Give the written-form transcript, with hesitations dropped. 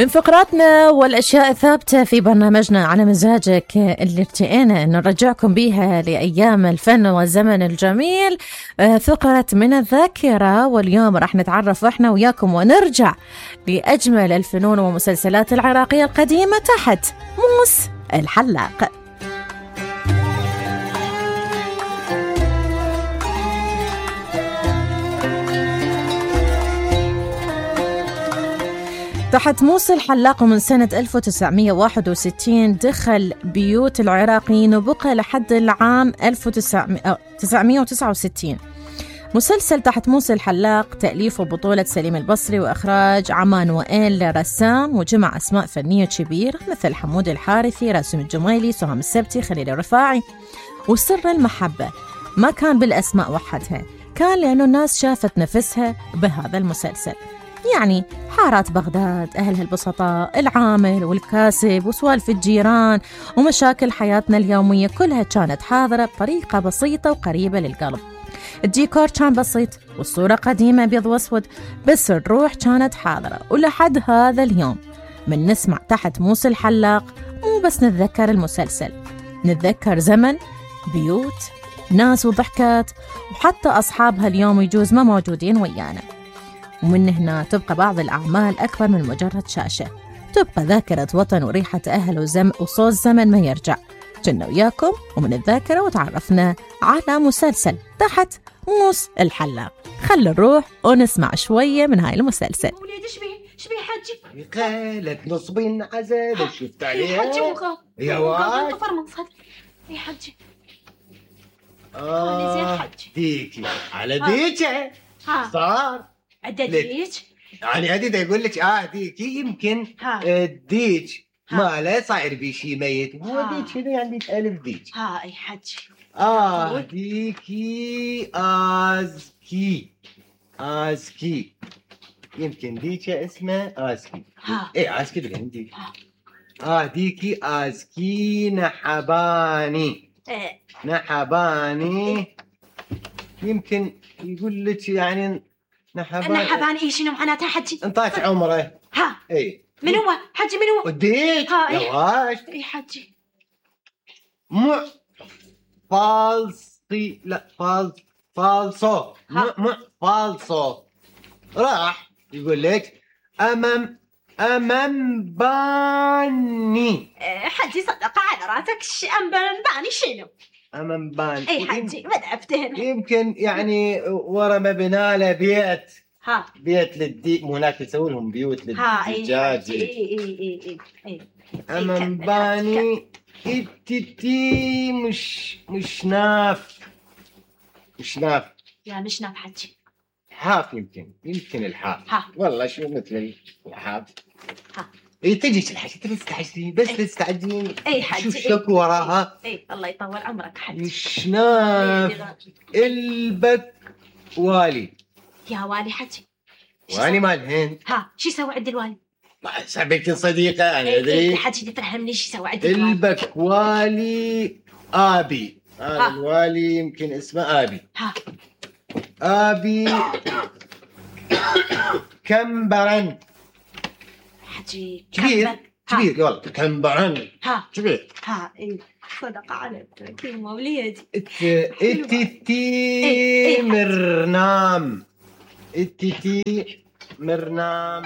من فقراتنا والأشياء الثابتة في برنامجنا على مزاجك اللي ارتئينا أن نرجعكم بيها لأيام الفن والزمن الجميل، فقرة من الذاكرة. واليوم راح نتعرف احنا وياكم ونرجع لأجمل الفنون ومسلسلات العراقية القديمة تحت موس الحلاق. تحت موس الحلاق من سنة 1961 دخل بيوت العراقيين وبقى لحد العام 1969. مسلسل تحت موس الحلاق تأليف وبطولة سليم البصري وإخراج عمان وائل رسام، وجمع أسماء فنية كبيرة مثل حمود الحارثي، راسم الجميلي، سهام السبتي، خليل الرفاعي. وسر المحبة ما كان بالأسماء وحدها، كان لأنه الناس شافت نفسها بهذا المسلسل. يعني حارات بغداد، أهلها البسطاء، العامل والكاسب، وسوالف الجيران ومشاكل حياتنا اليومية كلها كانت حاضرة بطريقة بسيطة وقريبة للقلب. الديكور كان بسيط والصورة قديمة أبيض وأسود، بس الروح كانت حاضرة. ولحد هذا اليوم من نسمع تحت موس الحلاق مو بس نتذكر المسلسل، نتذكر زمن، بيوت، ناس وضحكات، وحتى أصحابها اليوم يجوز ما موجودين ويانا. ومن هنا تبقى بعض الأعمال أكبر من مجرد شاشة، تبقى ذاكرة وطن وريحة أهل وصوت زمن ما يرجع. كنا وياكم ومن الذاكرة وتعرفنا على مسلسل تحت موس الحلاق. خلي نروح ونسمع شوية من هاي المسلسل. وليد شبيه حجي؟ قالت نصبين عزل شفت عليها حجي وغاب يا واد طفر من صدر يا حجي. زين حجي ديكي على ديكي صار عدديك يعني عديد يقول لك ديكي يمكن الديك ما صاير بشي ميت هو ديك هنا يعني 1000 ديك اي حجي ديكي آزكي يمكن ديكي اسمه آزكي آزكي اللي عندي ديكي آزكي نحباني نحباني يمكن يقول لك يعني نحباني شنو معناتها حجي؟ انطاك عمره من هو حجي من هو؟ وديك يواش حجي فالصي لا فالصو فالصو راح يقول لك أمام باني حجي صدق على راسك أمام باني شنو؟ أمام باني حجي ما دعفتهن يمكن يعني ورا مبنى له بيت للديك هناك يسوون لهم بيوت للدجاج أمام باني التتي مش ناف يا مش ناف حجي حاف يمكن الحاف والله شو مثل الحاف تجيش الحاجة تستعجلين بس تستعجلين حجي شوف شكو وراها الله يطول عمرك حجي مش ناف البك والي يا والي حجي والي مال الهند شو يسوي عند الوالي؟ صاحبتي صديقة أنا أدري حجي تفهمني شو يسوي عند الوالي؟ البك والي آبي الوالي يمكن اسمه آبي كمبرن حجي كبير والله كمبرن كبير صدق عليك كلمة وليدي التتي مرنام التتي مرنام